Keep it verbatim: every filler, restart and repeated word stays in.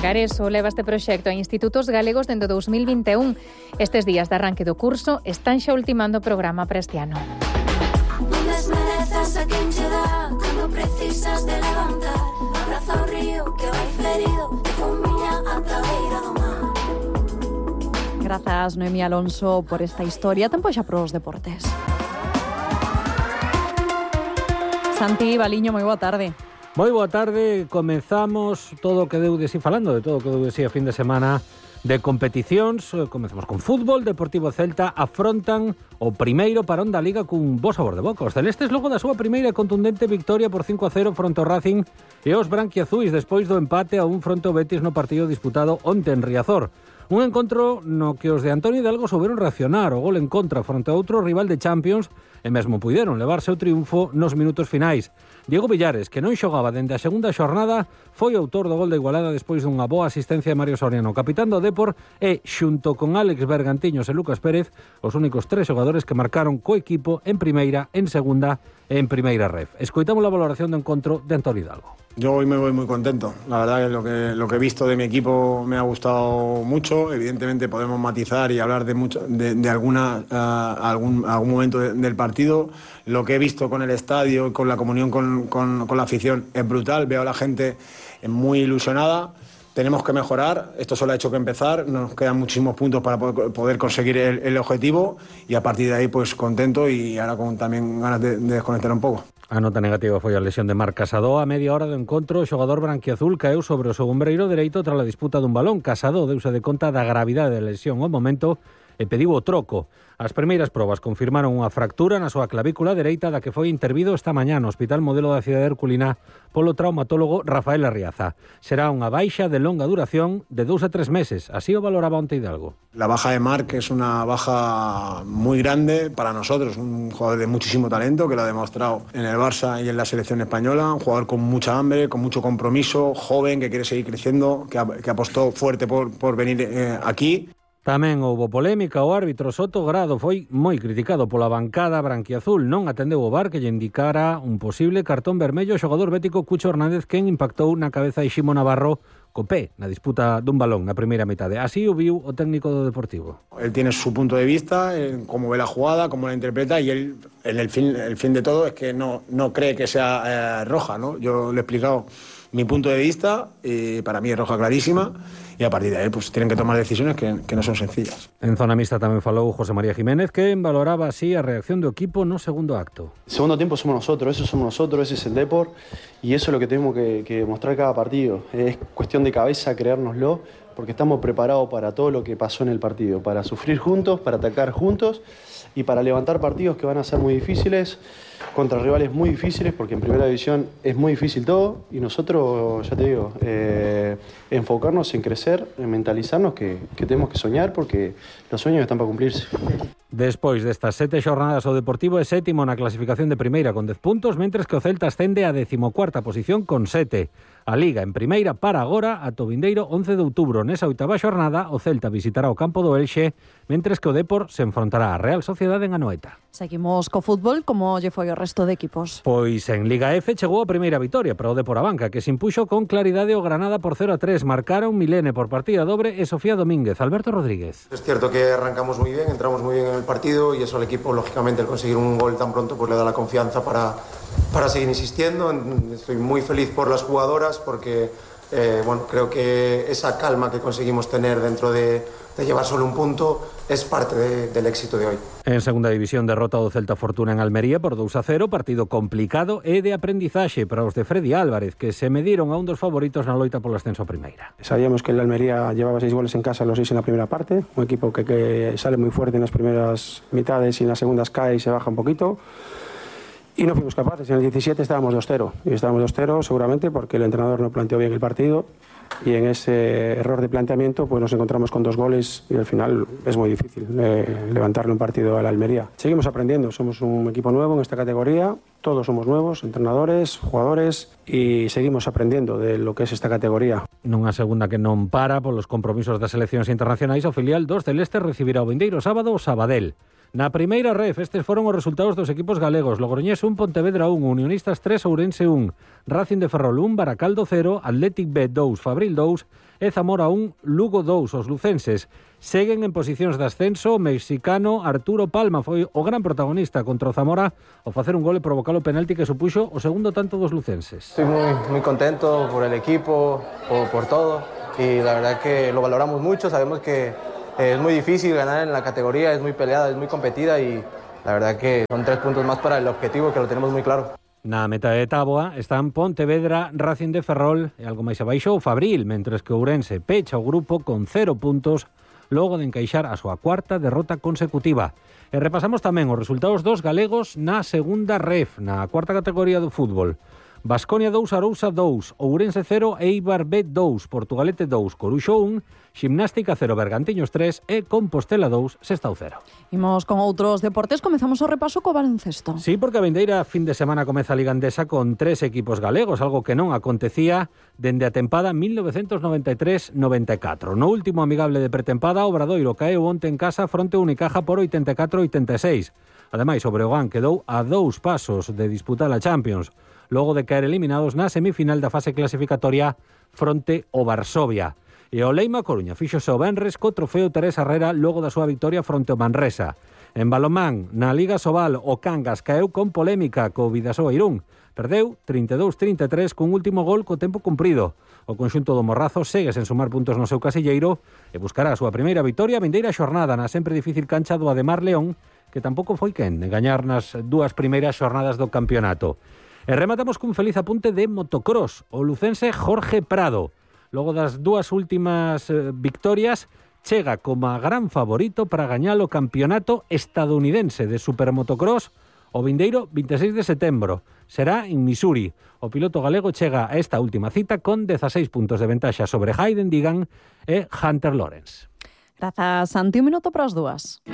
Gareso leva este proxecto a institutos galegos dende dous mil vinte e un. Estes días de arranque do curso están xa ultimando o programa para este ano. Non desmerezas a quen che dá cando precisas de levantar. Abraza o río que vai ferido e fumiña ata a beira do mar. Grazas, Noemí Alonso, por esta historia. Tempo xa pros deportes. Santi Baliño, moi boa tarde. Moi boa tarde, comezamos todo o que deu de si falando de todo o que deu de si a fin de semana de competicións. Comezamos con fútbol. Deportivo Celta afrontan o primeiro parón da Liga cun bo sabor de boca. Os celestes logo da súa primeira contundente victoria por cinco a cero fronte ao Racing e os branquiazuis despois do empate a un fronte ao Betis no partido disputado onte en Riazor. Un encontro no que os de Antonio Hidalgo souberon reaccionar o gol en contra fronte a outro rival de Champions e mesmo puideron levarse o triunfo nos minutos finais. Diego Villares, que non xogaba dende a segunda xornada, foi autor do gol de igualada despois dunha boa asistencia de Mario Soriano, capitán do Depor, e, xunto con Álex Bergantiños e Lucas Pérez, os únicos tres xogadores que marcaron co equipo en primeira, en segunda e en primeira ref. Escoitamos a valoración do encontro de Antonio Hidalgo. Yo hoy me voy muy contento. La verdad que lo que lo que he visto de mi equipo me ha gustado mucho. Evidentemente podemos matizar y hablar de mucho de, de alguna uh, algún algún momento de, del partido. Lo que he visto con el estadio, con la comunión con, con, con la afición es brutal. Veo a la gente muy ilusionada. Tenemos que mejorar. Esto solo ha hecho que empezar. Nos quedan muchísimos puntos para poder conseguir el, el objetivo y a partir de ahí pues contento y ahora con también ganas de, de desconectar un pouco. A nota negativa foi a lesión de Marc Casado. A media hora do encontro, o xogador branquiazul caeu sobre o seu ombreiro dereito tras a disputa dun balón. Casado deuse de conta da gravidade da lesión ao momento e pediu o troco. As primeiras probas confirmaron unha fractura na súa clavícula dereita da que foi intervido esta mañá no Hospital Modelo da Cidade Herculina polo traumatólogo Rafael Arriaza. Será unha baixa de longa duración de dous a tres meses. Así o valoraba onte Hidalgo. La baja de Marc es una baja muy grande para nosotros, un jugador de muchísimo talento que lo ha demostrado en el Barça y en la selección española, un jugador con mucha hambre, con mucho compromiso, joven, que quiere seguir creciendo, que, que apostó fuerte por, por venir eh, aquí. Tamén houbo polémica. O árbitro Soto Grado foi moi criticado pola bancada branquiazul. Non atendeu o V A R que lle indicara un posible cartón vermello ao xogador bético Cucho Hernández, quen impactou na cabeza de Ximo Navarro co pé na disputa dun balón na primeira metade. Así o viu o técnico do Deportivo. Él tiene su punto de vista, en cómo ve la jugada, cómo la interpreta y él, en el fin, el fin de todo es que no, no cree que sea eh, roja, ¿no? Yo le he explicado mi punto de vista y para mí es roja clarísima. Y a partir de ahí pues tienen que tomar decisiones que, que no son sencillas. En zona mixta tamén falou José María Jiménez, que valoraba así a reacción do equipo no segundo acto. El segundo tiempo somos nosotros, eso somos nosotros, ese es el Depor y eso es lo que tenemos que, que mostrar cada partido. Es cuestión de cabeza, creérnoslo, porque estamos preparados para todo lo que pasó en el partido, para sufrir juntos, para atacar juntos y para levantar partidos que van a ser muy difíciles, contra rivales muy difíciles, porque en primera división es muy difícil todo y nosotros, ya te digo, eh, enfocarnos en crecer, en mentalizarnos que, que tenemos que soñar porque los sueños están para cumplirse. Despois destas sete xornadas o Deportivo é sétimo na clasificación de primeira con dez puntos, mentres que o Celta ascende a decimocuarta posición con sete. A Liga en primeira para agora ata o vindeiro once de outubro. Nesa oitava xornada o Celta visitará o campo do Elxe, mentres que o Depor se enfrontará á Real Sociedade en Anoeta. Seguimos co fútbol, como lle foi o resto de equipos. Pois en Liga F chegou a primeira vitoria para o Depor Abanca, que se impuxo con claridade o Granada por cero a tres. Marcaron Milene por partida dobre e Sofía Domínguez. Alberto Rodríguez. Es cierto que arrancamos muy bien, entramos muy bien en el partido y eso al equipo, lógicamente, el conseguir un gol tan pronto pues le da la confianza para, para seguir insistiendo. Estoy muy feliz por las jugadoras porque eh, bueno, creo que esa calma que conseguimos tener dentro de, de llevar solo un punto es parte de, del éxito de hoy. En segunda división, derrota do Celta Fortuna en Almería por dous a cero, partido complicado e de aprendizaxe para os de Freddy Álvarez, que se mediron a un dos favoritos na loita polo ascenso a primeira. Sabíamos que el Almería llevaba seis goles en casa, los seis en la primera parte, un equipo que, que sale muy fuerte en las primeras mitades y en las segundas cae y se baja un poquito. Y no fuimos capaces. En el diecisiete estábamos dos cero. Y estábamos dos cero seguramente porque el entrenador no planteó bien el partido. Y en ese error de planteamiento pues nos encontramos con dos goles y al final es muy difícil eh, levantarle un partido a la Almería. Seguimos aprendiendo. Somos un equipo nuevo en esta categoría. Todos somos nuevos, entrenadores, jugadores, y seguimos aprendiendo de lo que es esta categoría. Nunha segunda que non para polos compromisos das seleccións internacionais, o filial dos celestes recibirá o vindeiro sábado o Sabadell. Na primeira ref, estes foron os resultados dos equipos galegos. Logroñés un, Pontevedra un, Unionistas tres, Ourense un, Racing de Ferrol un, Baracaldo cero, Athletic B dous, Fabril dous e Zamora un, Lugo dous. Os lucenses seguen en posicións de ascenso. O mexicano Arturo Palma foi o gran protagonista contra o Zamora ao facer un gol e provocar o penalti que supuxo o segundo tanto dos lucenses. Estoy muy, muy contento por el equipo, por, por todo, y la verdad que lo valoramos mucho. Sabemos que es muy difícil ganar en la categoría, es muy peleada, es muy competida y la verdad que son tres puntos más para el objetivo, que lo tenemos muy claro. Na meta de táboa están Pontevedra, Racing de Ferrol e algo máis abaixo o Fabril, mentres que Ourense pecha o grupo con cero puntos logo de encaixar a súa cuarta derrota consecutiva. E repasamos tamén os resultados dos galegos na segunda ref, na cuarta categoría do fútbol. Baskonia dous, Arousa dous, Ourense cero, Eibar B dous, Portugalete dous, Coruxo un, Ximnástica cero, Bergantiños tres e Compostela dous, Sestao cero. Imos con outros deportes, comezamos o repaso co baloncesto. Sí, porque a vindeira fin de semana comeza a Liga Endesa con tres equipos galegos, algo que non acontecía dende a tempada mil novecentos noventa e tres noventa e catro. No último amigable de pretempada, o Obradoiro caeu onte en casa fronte a Unicaja por oitenta e catro a oitenta e seis. Ademais, o Breogán quedou a dous pasos de disputar a Champions, logo de caer eliminados na semifinal da fase clasificatoria fronte ao Varsovia. E o Leima Coruña fíxose o venres co trofeo Teresa Herrera logo da súa victoria fronte ao Manresa. En balonmán, na Liga Sobal, o Cangas caeu con polémica co Vidasoa Irún. Perdeu trinta e dous trinta e tres cun último gol co tempo cumprido. O conxunto do Morrazo segue sen sumar puntos no seu casilleiro e buscará a súa primeira vitoria a vindeira xornada na sempre difícil cancha do Ademar León, que tampouco foi quen de gañar nas dúas primeiras xornadas do campeonato. E rematamos cun feliz apunte de motocross. O lucense Jorge Prado, logo das dúas últimas eh, victorias, chega como a gran favorito para gañar o campeonato estadounidense de supermotocross o vindeiro vinte e seis de setembro. Será en Missouri. O piloto galego chega a esta última cita con dezaseis puntos de ventaxa sobre Hayden Digan e Hunter Lawrence. Grazas, Santi. Un minuto para as dúas.